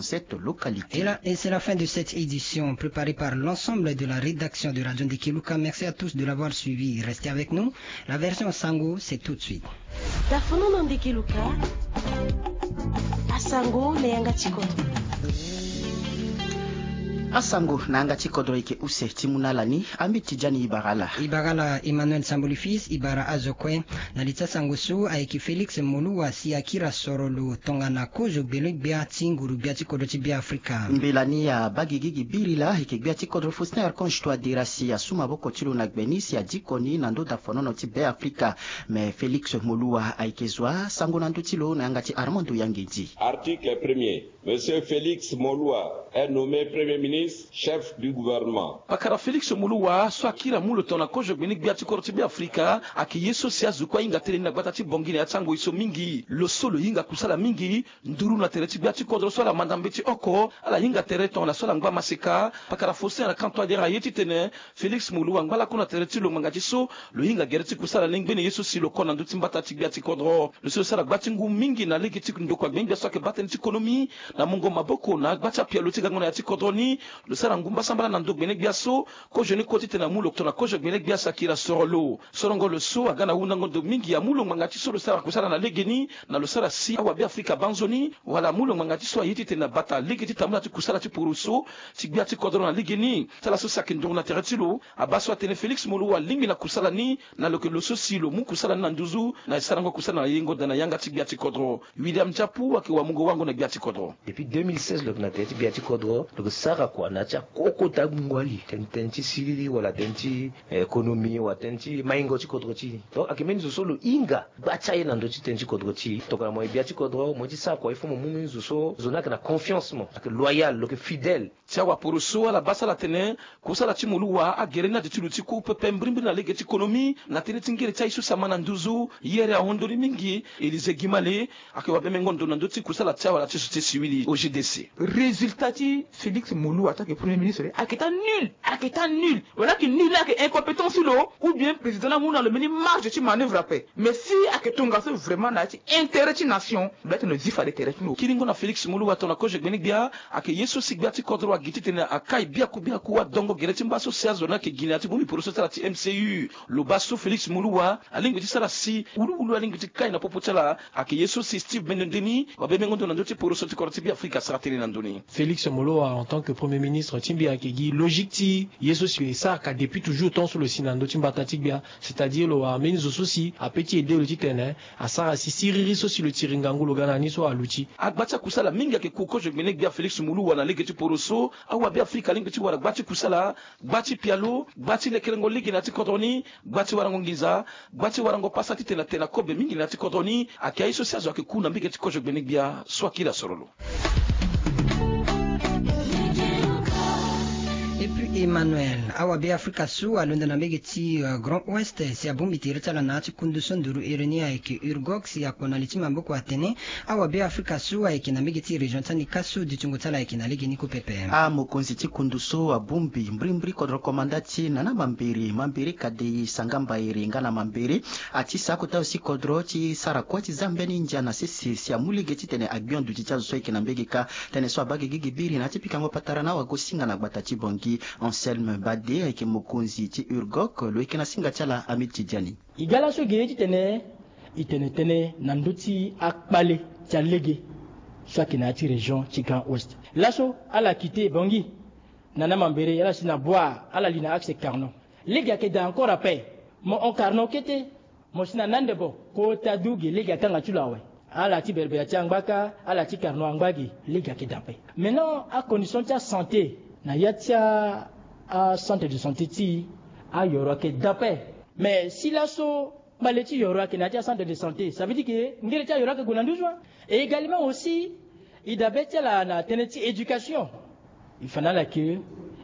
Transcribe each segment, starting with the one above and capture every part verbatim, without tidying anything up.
Cette localité. Et là, et c'est la fin de cette édition préparée par l'ensemble de la rédaction de Radio Ndekeluka. Merci à tous de l'avoir suivi. Restez avec nous. La version Sango, c'est tout de suite. Dafono na Ndekeluka. Asango na yanga ti kodro. Asango na yanga ti kodro eke use ti mu na ala ni. Ami Tidjani Ibarala. Ibarala Emmanuel Samboli Fils, Ibara azo kue. Na li ti asango so ayeke Félix Moluwa si akiri asoro lo tongana kozo gbele gbia ti nguru gbia ti kodro ti Beafrika. Mbela ni abaa gigi gi biri laa ayeke gbia ti kodro Faustin Archange Touadéra si asu maboko ti lo na gbe ni si adiko ni na ndö dafonono ti Beafrika. Me Félix Moluwa ayeke zo asango na ndö ti lo na yanga ti Armando Yangedi. Article premier. Monsieur Félix Moluwa est nommé Premier ministre, chef du gouvernement. Pakara Félix Moluwa so akiri amu lo tongana kozo gbeni gbia ti kodro ti Beafrika ayeke ye so si azo kue ahinga tënë ni na gbata ti Bangui na ya ti angoi so mingi. Lo so lo hinga kusala mingi, nduru na tere ti gbia ti kodro so ala manda mbeti oko, ala hinga tere tongana so ala ngba maseka. Pakara Faustin Archange Touadéra aye titene Félix Moluwa angba lakue na tere ti lo ngbanga ti so lo hinga gere ti kusala ni ngbene ye so si lo ko na ndö ti mbata ti gbia ti kodro. Lo si lo sara gba ti ngu mingi na lege ti ndokua gbene gbia so ayeke baa tënë ti konomi na mungo maboko na agba ti apialo ti gango na ya ti kodro ni. Lo sara ngu mbasambala na ndo gbene gbia so kozo ni kue titene amu lo tongana kozo gbene gbia so akiri asoro lo. Sorongo lo so aga na hundango ndo mingi amu lo ngbanga ti so lo sara kusala na legeni na lo sara si awabe Afrika baa nzoni, wala amu lo ngbanga ti so aye titene abata lege ti tambula ti kusala ti poroso ti gbia ti kodro na legeni. Ti ala so si ayeke nduru na tere ti lo abaa so atene Félix Moluwa alingbi na kusala ni, na lo yeke lo so si lo mu kusala ni na nduzu na e sarango kusala na yengo daa na yanga ti gbia ti kodro. William Ndiapu ayeke wamungo wango na gbia ti kodro. Depuis deux mille seize lo yeke na tere ti gbia ti kodro, lo yeke sara kua na ya ti akokota gbungo ali, tene tënë ti siriri wala tënë ti, eh, économie wala tënë ti maingo ti kodro ti e. Donc ayeke mbeni zo so lo hinga gba ti aye na ndö ti tënë ti kodro ti e. Tongana mo yeke gbia ti kodro, mo ye ti sara kua, il faut mo mu mbeni zo so zo ni ayeke na confiance mo, ayeke loyal, lo yeke fidèle. Ti awaporoso ala baa so ala tene kusala ti Moluwa agere ni ade ti lo ti ku pepe mbirimbiri na lege ti konomi na tënë ti ngere ti aye so si ama na nduzu. Yere ahon ndoni mingi. Élysée Guimale ayeke wabe mengo ndo na ndö ti kusala ti awala ti société civile O G D C. Résultat ti Félix Moluwa ataa ayeke premier ministre ayeke taa nul, ayeke taa nul. Wala ayeke nul ni ayeke incompétence ti lo, ou bien président ni amu na lo mbeni marge ti manœuvre ape. Mais si ayeke tongaso vraiment na ya ti intérêt ti nation, lo laa tene lo zi fade tere ti lo. Kiringo na Félix Moluwa tongana kozo gbeni gbia ayeke ye so si gbia ti kodro agi titene akai biaku biaku adongo gere ti mba so si azo ni ayeke gi na ya ti bongbi poroso ti ala ti M C U. Lo baa so Félix Moluwa alingbi ti sara si wuluwulu alingbi ti kai na popo ti ala. Ayeke ye so si Steve Bendo Ndeni wabe mengo ndo na ndö ti poroso ti kodro ti Beafrika asara tënë na ndö ni. Félix Moluwa en tant que premier ministre ti mbi ayeke gi logique ti ye so si e saraka depuis toujours tant so lo si na ndö ti mbata ti gbia, c'est-à-dire lo wara mbeni zo so si ape ti aidé lo titene asara si siriri so si lo tiri ngangu lo ga na ni so aluti. Agba ti akusala mingi ayeke ku kozo gbene gbia Félix Moluwa na lege ti poroso. Awabe Afrika alingbi ti wara gba ti kusala, gba ti pialo, gba ti lekerengo lege na ya ti kodro ni, gba ti warango nginza, gba ti warango pasa titene atene na kobe mingi na ya ti kodro ni. Ayeke aye so si azo ayeke ku na mbege ti kozo gbene gbia so akiri asoro lo. Et puis Emmanuel, awabe Afrika so alondo na mbege ti, euh, Grand Ouest si abongbi tere ti ala na ya ti kundu so nduru iri ni ayeke URGOC si akpo na li ti maboko atene awabe Afrika so ayeke na mbege ti région ti Anika so dutingo ti ala ayeke na legeni kue pepe. Amokonzi ti kundu so abongbi mbirimbiri kodro komanda ti Nana Mambere, Mambere Kadei, Sangamba Ere nga na Mambere, ati sa akota aussi kodro ti sara kue ti za mbeni ndia na sese si amu lege titene agbion duti ti azo so ayeke na mbege kâ. Tënë so abaa gigi gi biri na ya ti pikango patara na awagosinga na gbata ti Bangui. Anselme Bade ayeke mokonzi ti URGOC, lo yeke na singa ti ala Hamid Tidiane. E ga laso e gi ye titene e tene tënë na ndö ti akpale ti alege so ayeke na ya ti région ti Grand Ouest. Laso ala quitté Bangui, Nana Mambere, ala si na Bouar, ala li na axe Carnon. Lege ayeke daa encore ape. Mo hon Carnon kete, mo si na Nandebo, kota du ge lege akanga ti lo awe. Ala ti Berbera ti angba kâ, ala ti Carnon angba ge, lege ayeke daa ape. Maintenant acondition ti asanté na ya ti a, acentre de santé ti e, ayoro ayeke daa ape. Mais si laso kpale ti yoro ayeke na ya ti acentre de santé, ça veut dire que ngere ti ayoro ayeke gue na nduzu wa. Et également aussi e dabe ti ala na tënë ti éducation. E fa na ala ke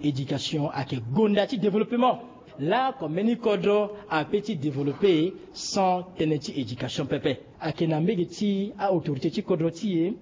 éducation ayeke gonda ti développement. Laoko mbeni kodro ape ti développé sans tënë ti éducation pepe. Ayeke na mbege ti aautorité ti kodro ti e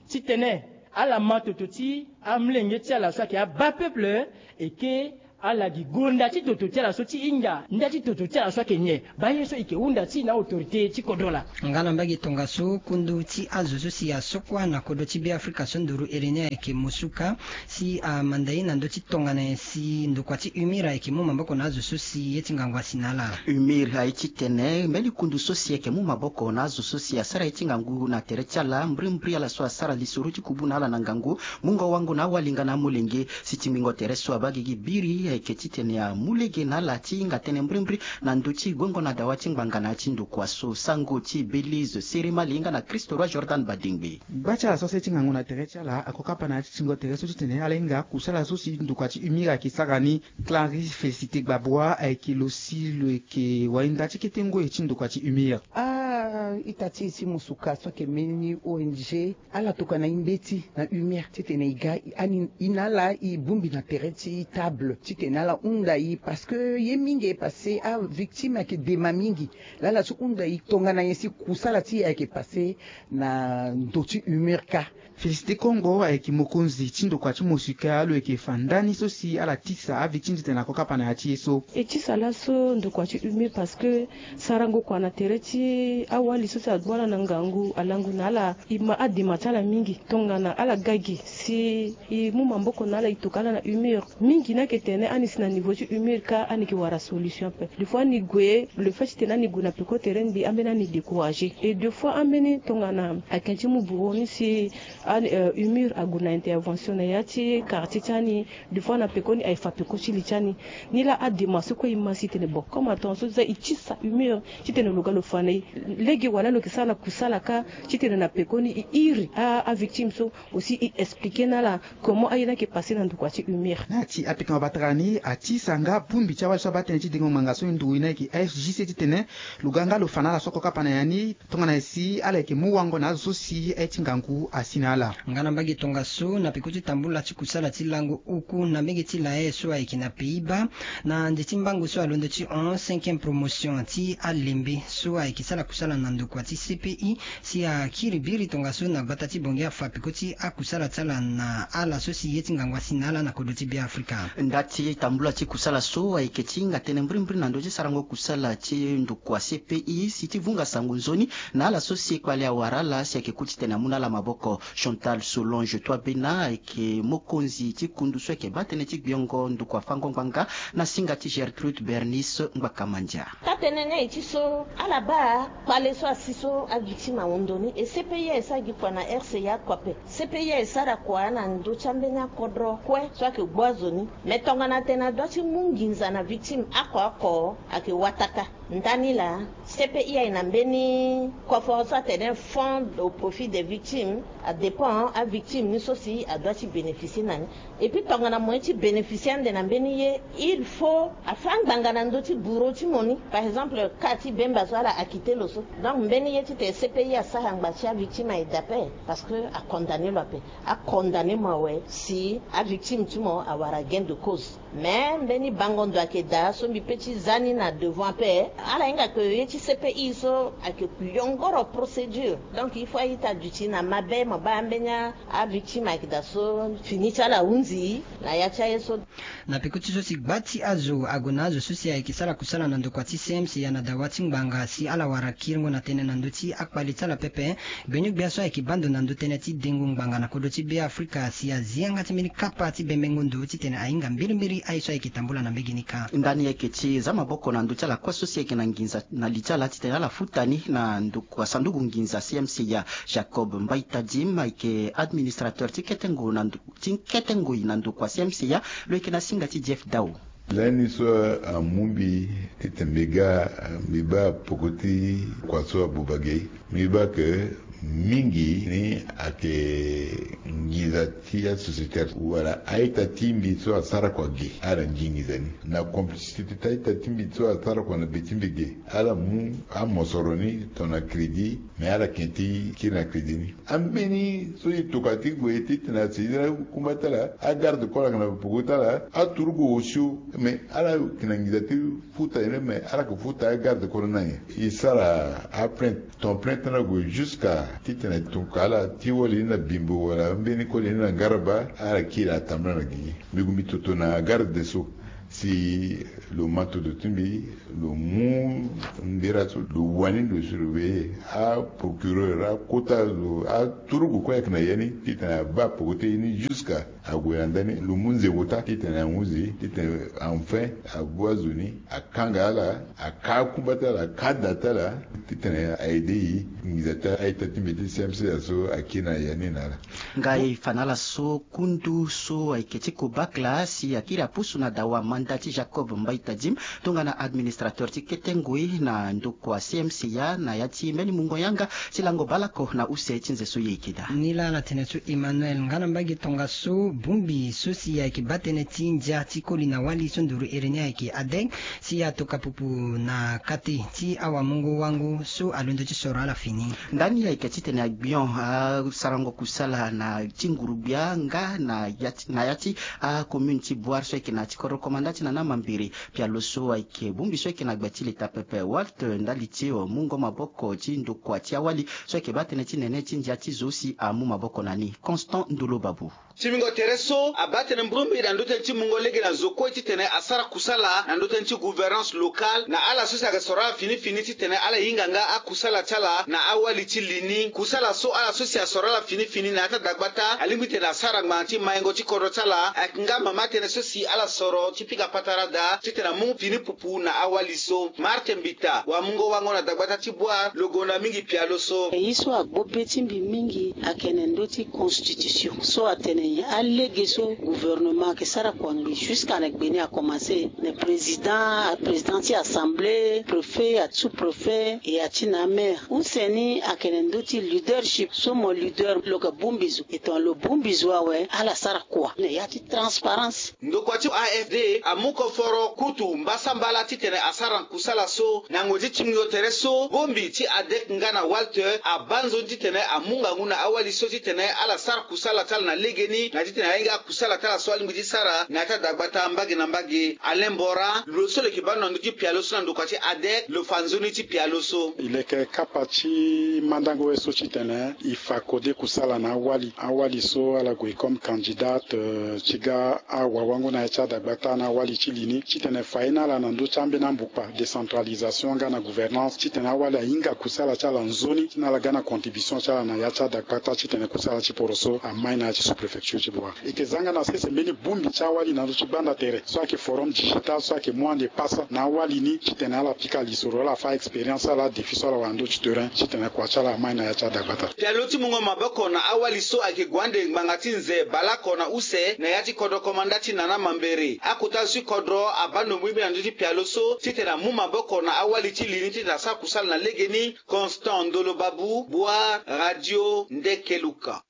titene ala ma toto ti amolenge ti ala so ayeke abaa peuple, e ke Ala gi gonda ti toto ti ala so ti hinga nda ti toto ti ala so ayeke nyen. Baa ye so e yeke hunda ti na autorité ti kodro laa. Nga na mbage tongaso kundu ti azo so si asokua na kodro ti Be Afrika so nduru ere ni ayeke musuka, si amanda ye na ndö ti tongana nyen si ndokua ti UMIR ayeke mu maboko na azo so si ye ti ngangu asi na ala. UMIR aye titene mbeni kundu so si ayeke mu maboko na azo so si asara ye ti ngangu na tere ti ala, mbrimbri ala so asara lisoro ti kubu na ala na ngangu, mungo wango na awali nga na amolenge. Si ti ngbingo tere so abaa gigi biri ayeke titene amu lege na ala ti hinga tënë mbrimbri na ndö ti guengo na dawa ti ngbanga na ya ti ndokua so. Sango ti Belize, Sere Mali nga na Christo Roi Jordan Badingbe. Gba ti ala so asara ye ti ngangu na tere ti ala ako kapa na ya ti tingo tere so titene ala hinga kusala so si ndokua ti UMIR ayeke sara ni. Clarisse Félicité Gbabua ayeke lo si lo yeke wainda ti kete ngoi ti ndokua ti UMIR. A-ita ti e ti musuka so ayeke mbeni O N G, ala tokua na e mbeti na UMIR titene e ga, ani e na ala e bongbi na tere ti table titene ala hunda e, parce que ye mingi e passé, avictime ayeke dema mingi. Laa ala so hunda e tongana nyen si kusala ti e ayeke passé na ndö ti UMIR kâ. Félicité Kongo ayeke mokonzi ti ndokua ti musuka, lo yeke fa ndani so si ala tisa avictime titene ako kapa na ya ti ye so. E tisa laso ndokua ti UMIR parce que sarango kua na tere ti awali so si agbu ala na ngangu alango na ala, e ma adema ti ala mingi. Tongana ala ga gi si e mu maboko na ala, e tokua ala na UMIR, mingi ni ayeke tene ani si na niveau ti UMIR kâ ani yeke wara solution ape. Des fois ani gue, le fait titene ani gue na peko tere ni mbi ambeni ani découragé. Et des fois ambeni tongana ayeke ti mu bureau ni si ani, euh, UMIR ague na intervention na ya ti quartier ti ani, des fois na pekoni aye fa peko ti li ti ani. Ni laa adema so kue e ma si tene bon, comme atongaso deja e tisa UMIR titene lo ga lo fa na e lege wala lo yeke sara na kusala kâ titene na pekoni e iri a, avictime so aussi e expliqué na ala comment aye ni ayeke passé na ndokua ti UMIR. Na ya ti apekama batara ni, atisa nga bongbi ti awali so abaa tënë ti dengo ngbanga so e nduru e ni ayeke A F J C titene lo ga nga lo fa na ala so ako kapa na ya ni. Tongana nyen si ala yeke mu wango na azo so si aye ti ngangu asi na ala. Nga na mbage tongaso na peko ti tambula ti kusala ti lango oku na mbage ti laye so ayeke na Pays-Bas, na nze ti mbango so alondo ti hon cinquième promotion ti alembe so ayeke sara kusala na ndokua ti C P I, si akiri biri tongaso na gbata ti Bangui afa peko ti akusala ti ala na ala so si ye ti ngangu asi na ala na kodro ti Be Afrika. Nda ti tambula ti kusala so ayeke ti hinga tënë mbrimbri na ndö ti sarango kusala ti ndokua C P I si ti vunga sango nzoni na ala so si e kpale awara ala si ayeke ku titene amu na ala maboko. Chantal Solange Toibena ayeke mokonzi ti kundu so ayeke baa tënë ti gbiongo ndokua fango ngbanga na singa ti Gertrude Bernice Ngbakamandia. Taa-tënë ni aye ti so ala baa kpale so asi so avictime ahon ndo ni, e C P I aye sara gi kua na R C A kue ape. C P I aye sara kua na ndö ti ambeni akodro kue so ayeke gbu azo ni. Me tongana atene adua ti mu nginza na victime oko oko ayeke wataka. Ndani laa C P I aye na mbeni koforo so atene fonds au profit des victimes. Adépend avictime ni so si adua ti bénéficier na ni. Et puis tongana mo ye ti bénéficier ande na mbeni ye, il faut afa ngbanga na ndö ti bureau ti mo ni. Par exemple, cas ti Bemba so ala acquitté lo so. Donc mbeni ye titene C P I asara ngba ti avictime aye daa ape, parce que acondamné lo ape. Acondamné mo awe si avictime ti mo awara gain de cause. Mais mbeni bango ndo ayeke daa so mbi pe ti za ni na devant ape. Ala hinga ke ye ti C P I so ayeke yongoro procédure. Donc il faut a-ita aduti na mabe, mo baa ambeni avictime ayeke daa so fini ti ala ahunzi na ya ti aye so. Na peko ti so si gba ti azo ague na azo so si ayeke sara kusala na ndokua ti C M C ya na dawa ti ngbanga si ala wara kiringo na tënë na ndö ti akpale ti ala pepe. Gbeni-gbia so ayeke baa ndo na ndö tënë ti dengo ngbanga na kodro ti Be Afrika si azi yanga ti mbeni kapa ti bembengo ndo titene ahinga mbirimbiri aye so ayeke tambula na mbege ni kâ. Ndani ayeke ti za maboko na ndö ti ala kue so si ayeke na nginza na li ti ala titene ala futa ni na ndokua sanduku nginza C M C ya. Jacob Mbaye Tadim ayeke administrateur ti kete ngo na ndo ti kete ngoi na ndokua C M C ya, lo yeke na singa ti Jeff Dao. Lani so amu mbi titene mbi ga, mbi baa peko ti kua so abuba ge. Mbi baa ke mingi ni ayeke nginza ti asociétaire wala a-ita ti mbi so asara kua ge, ala nginza ni na complicité ti a-ita ti mbi so asara kua na be ti mbi ge. Ala mu amosoro ni tongana crédit, mais ala yeke ti kiri na crédit ni. Ambeni so e tokua ti gue titene asi na kumba ti ala, agarde corps ayeke na peko ti ala, aturugu osio, mais ala yeke na nginza ti futa ye ni, mais ala yeke futa agarde corps ni na nyen? E sara aplainte, ton plainte ni ague jusqu'à titene e tokua ala ti wali ni na Bimbo wala ambeni koli ni na Ngaraba, ala kiri atambula na gigi. Mbi gue mbi toto na garde des Sceaux. Si lo ma toto ti mbi, lo mu ndera so, lo wani lo si lo ve aprocureur akota lo aturugu kue ayeke na ya ni titene abaa peko ti ye ni jusqu'à ague na ndani, lo mu nze kota titene ahuzi titene enfin ague azo ni, akanga ala, aka akumba ti ala, aka ada ti ala, titene a-aider e. Nginza ti a-ita ti mbi ti C M C A so akiri na ya ni na ala. Nga e fa na ala so kundu so ayeke ti kobakla si akiri apusu na dawa manda ti Jacob Mbaita Dim, tongana administrateur ti kete ngoi na ndokua C M C A na ya ti mbeni mungo yanga ti lango bale oko na use ti nze so ye yeke daa. Ni laa ala tene so Emmanuel nga na mbage tongaso, bongbi so si ayeke baa tënë ti ndia ti koli na wali so nduru iri ni ayeke ADEC, si atoka pupu na kati ti awamungo wango so alondo ti soro ala fini. Ndani ayeke titene agbion asarango kusala na ti nguru-gbia nga na ya ti, na ya ti acommune ti Bouar so ayeke na ya ti kodro komanda ti Nana Mambere. Pialo so ayeke bongbi so ayeke na gbe ti leta pepe Walt ndali ti mungo maboko ti ndokua ti awali so ayeke baa tënë ti nene ti ndia ti zo si amu maboko na ni. Constant Ndolo Babu. Ti mingo tere so abaa tënë mbrumbi na ndö tënë ti mungo lege na zo kue titene asara kusala na ndö tënë ti gouvernance locale na ala so si ayeke soro ala fini fini titene ala hinga nga akusala ti ala na awali ti li ni. Kusala so ala so si asoro ala fini fini na ya ti adagbata alingbi titene asara ngbanga ti maingo ti kodro ti ala ayeke nga mama tënë so si ala soro ti pika patara daa titene amu fini pupu na awali so. Martin Mbita, wamungo wango na dagbata ti Bouar, lo gonda mingi pialo so. E ye so agbo be ti mbi mingi ayeke na ndö ti constitution so atene alege so gouvernement ayeke sara kua ngbii jusqu'à na gbe ni akomanse na président, président ti assemblée, préfet, asous-préfet et ati na amaire. Use ni ayeke na ndö ti leadership so mo leader lo yeke bongbi zo. E tongana lo bongbi zo awe ala sara kua na ya ti transparence. Ndokua ti A F D amu koforo kutu mbasambala titene asara kusala so. Na ngoi ti tingbingo tere so, bongbi ti ADEC nga na Walter abaa nzoni titene amu ngangu na awali so titene ala sara kusala ti ala na legeni na titene ahinga akusala ti ala so alingbi ti sara na ya ti adagbata mbage na mbage. Alain Mbora, lo so lo yeke baa ndo na ndö ti pialo so na ndokua ti ADEC, lo fa nzoni ti pialo so. E leke kapa ti mandango ye so titene e fa kode kusala na awali, awali so ala gue comme candidate, euh, ti ga awawango na ya ti adagbata na awali ti li ni titene fa ye na ala na ndö ti ambeni ambukpa, décentralisation nga na gouvernance, titene awali ahinga kusala ti ala nzoni ti na ala ga na contribution ti ala na ya ti adagbata titene kusala ti poro so amai na ya ti sous-préfecture ti Bouar. E yeke za nga na sese mbeni bongbi ti awali na ndö ti gbanda tere so ayeke forum digital so ayeke mu ande pasa na awali ni titene ala pika lisoro, ala fa expérience, ala défi so ala wara na ndö ti terrain titene kua ti ala amai na ya ti adagbata. Pialo ti mungo maboko na awali so ayeke gue ande ngbanga ti nze baleoko na use na ya ti kodro komanda ti Nana Mambere. Akota zo ti kodro abaa ndo mbrimbri na ndö ti pialo so titene amu maboko na awali ti li ni titene asara kusala na legeni. Constant Ndolo Babu, Bouar, Radio Ndekeluka.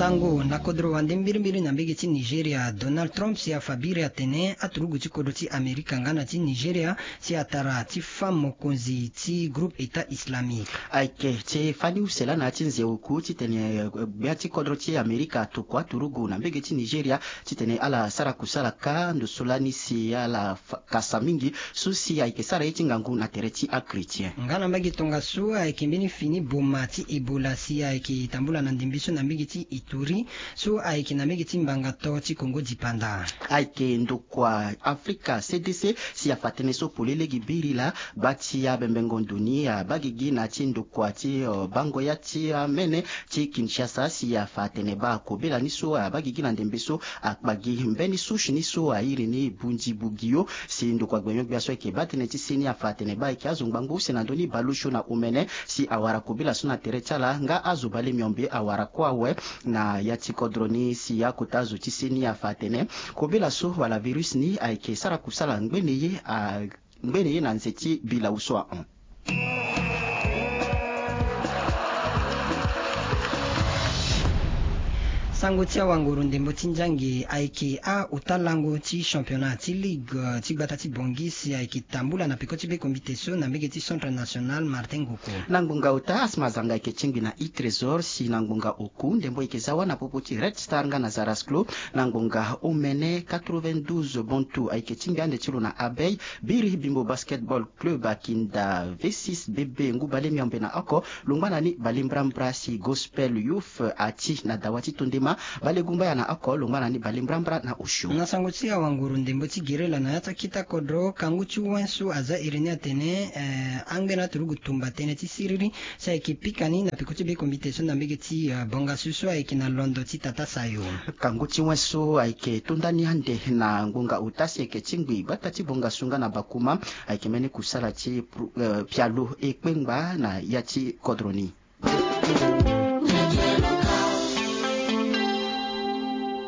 Sango na kodro wande mbirimbiri na mbege ti Nigeria, Donald Trump si afa biri atene aturugu ti kodro ti Amerika nga na ti Nigeria si atara ti fâ mokonzi ti groupe État islamique. Ayeke ti fani use laa na ya ti nze oku titene, eh, gbia ti kodro ti Amerika atokua aturugu na mbege ti Nigeria titene ala sara kusala kâ ndo so lani si ala fa-, kasa mingi so si ayeke sara ye ti ngangu na tere ti achrétien. Nga na mbage tongaso ayeke mbeni fini boma ti Ebola si ayeke tambula na ndembe so na mbage ti Ituri so ayeke na mbage ti mbanga to ti Kongo dipanda. Ayeke ndokua Afrika C D C si afa tënë so polele gi biri laa, baa ti abembengo ndo ni abaa gigi na ti ndokua ti, eh, bango ya ti amene ti Kinshasa si afa atene baa kobela ni so abaa gigi na ndembe so akpa gi mbeni souche ni so airi ni Bundibugyo. Si ndokua gbenyo-gbia so ayeke baa tënë ti se ni afa atene baa ayeke azo ngbangbo use na ndö ni baleosio na omene si awara kobela so na tere ti ala nga azo bale miombe awara kue awe. Na ya ti kodro ni si akota azo ti se ni afa atene kobela so wala virus ni ayeke sara kusala ngbene ye a ngbene ye na nze ti bilau so ahon. Sango ti awanguru ndembo ti nzangi ayeke a-ota lango ti championnat ti ligue, eh, ti gbata ti Bangui si ayeke tambula na peko ti be kombite so na mbege ti Centre National Martin Ngoko. Na ngbonga ota Asma Zanga ayeke tingbi na e Trésor si na ngbonga oku ndembo ayeke za wâ na popo ti Red Star nga na Zarasclo. Na ngbonga omene quatre-vingt-douze Bontu ayeke tingbi ande ti lo na Abeille. Biri Bimbo Basketball Club akinda V six B B ngu bale miombe na oko. Lo ngba na ni bale mbrambra si Gospel Youth ati na dawa ti tondema. Balegumbaya na oko longba na ni balembrambra na osio. Na sango ti awanguru ndembo ti gerela na ya ti akita kodro, kangu ti wen so aza iri ni atene, eh, angbe na turugu tumba tënë ti siriri si ayeke pika ni na peko ti be kombite so na mbege ti, eh, bongasu so ayeke na londo ti tata sayo. Kangu ti wen so ayeke tonda ni ande na ngbonga ota si ayeke ti ngbi gbata ti bongasu nga na bakuma, ayeke mbeni kusala ti pro-, eh, pialo e kpengba na ya ti kodro ni.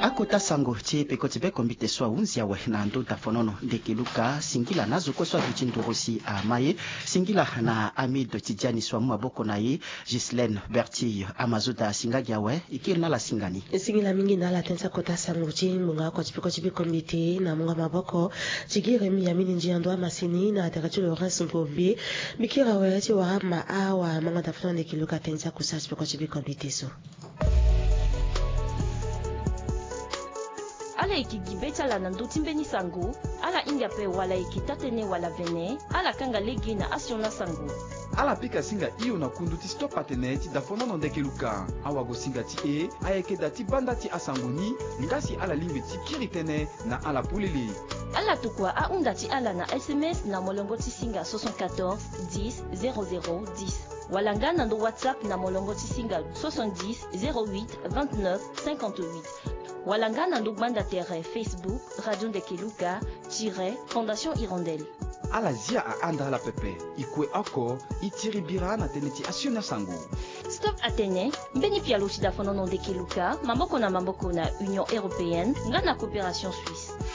Akota sango ti peko ti be kombite so ahunzi awe na ndö dafonono ndeke luka, singila na azo kue so aduti nduru si ama ye, singila na Amide Tidiani so amu maboko na ye, Ghislaine Bertille. Amazoda asinga gi awe, e kiri na ala singa ni. E singila mingi na ala tënë ti akota sango ti ngbonga oko ti peko ti be kombite na mungo maboko ti gere mi ya mini ndia ndo amasini na tere ti Laurence Ngombe. Mbi kiri awe ti wara ma awa mango dafonono ndeke luka tënë ti akusala ti peko ti be kombite so. Ala yeke gi be ti ala na ndö ti mbeni sango, ala hinga ape wala yeke taa-tënë wala vene, ala kanga lege na asioni asango. Ala pika singa hio na kundu ti stop atene ti dafonono ndeke luka. Awagosinga ti e ayeke da ti banda ti asango ni, nga si ala lingbi ti kiri tënë na ala polele. Ala tokua ahunda ti ala na S M S na molongo ti singa soixante-quatorze dix zéro zéro dix, wala nga na ndo WhatsApp na molongo ti singa soixante-dix zéro huit vingt-neuf cinquante-huit, wala nga na ndo gbanda tere Facebook Radio Ndeke Luka tiret Fondation Hirondelle. Ala zia ahanda ala pepe. E kue oko, e tiri bira na tënë ti asioni asango. Stop atene, mbeni pialo ti dafonono ndeke luka, maboko na maboko na Union Européenne nga na Coopération Suisse.